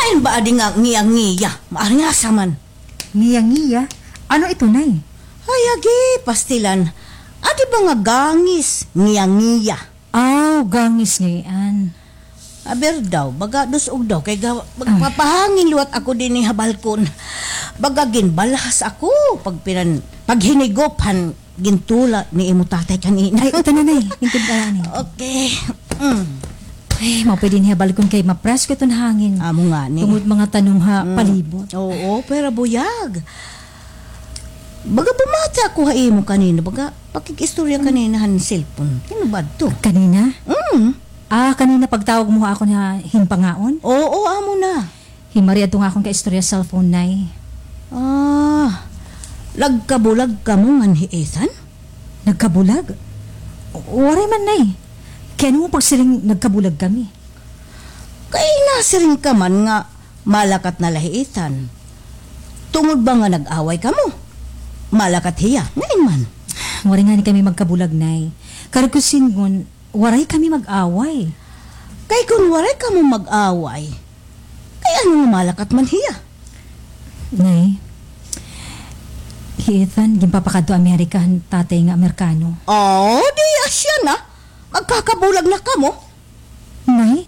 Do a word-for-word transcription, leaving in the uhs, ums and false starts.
Ano ba adi nga ngiya-ngiya? Maarasa man. Ngiya-ngiya? Ano ito, Nay? Ay, agi, pastilan. Adi ba nga gangis, ngiya-ngiya? Aw, gangis ngay-an. Aber daw, baga dus-og daw, kay ga-, magpapahangin liwat ako dinhi ha balkon. Baga ginbalhas ako, pagpinan-, paghinigop han gintula ni imo tatay kanina. Ay, ito na, Nay. Lingkod ka, Nay. Okay. Mm. Ay, mao pwede niya balkon kay mapresko iton hangin. Amo ngani. Tungod mga tanom ha palibot. Oo, pero buyag. Baga bumati ako ha imo kanina, baga pakig-istorya kanina han cellphone. Sino ba adto? Kanina? Mm. Ah, kanina pagtawag mo ha akon ha himpangaon? Oo, amo na. Himari adto nga akon kaistorya sa cellphone, Nay. Ah, nagkabulag kamo ngan hi Ethan? Nagkabulag? Waray man, Nay. Kay ano mo pagsiring nagkabulag kami? Kay nasiring ka man nga malakat na la hi Ethan. Tungod ba nga nag-away kamo? Malakat hiya, ngain man. Waray ngani kami magkabulag, Nay. Karuyag ko sidngon, waray kami mag-away. Kay kon waray kamo mag-away, kay ano nga malakat man hiya? Nay, hi Ethan, ginpapakadto Amerika han tatay nga Amerikano. Oh, di asya na. Magkakabulag na kamo. Nay,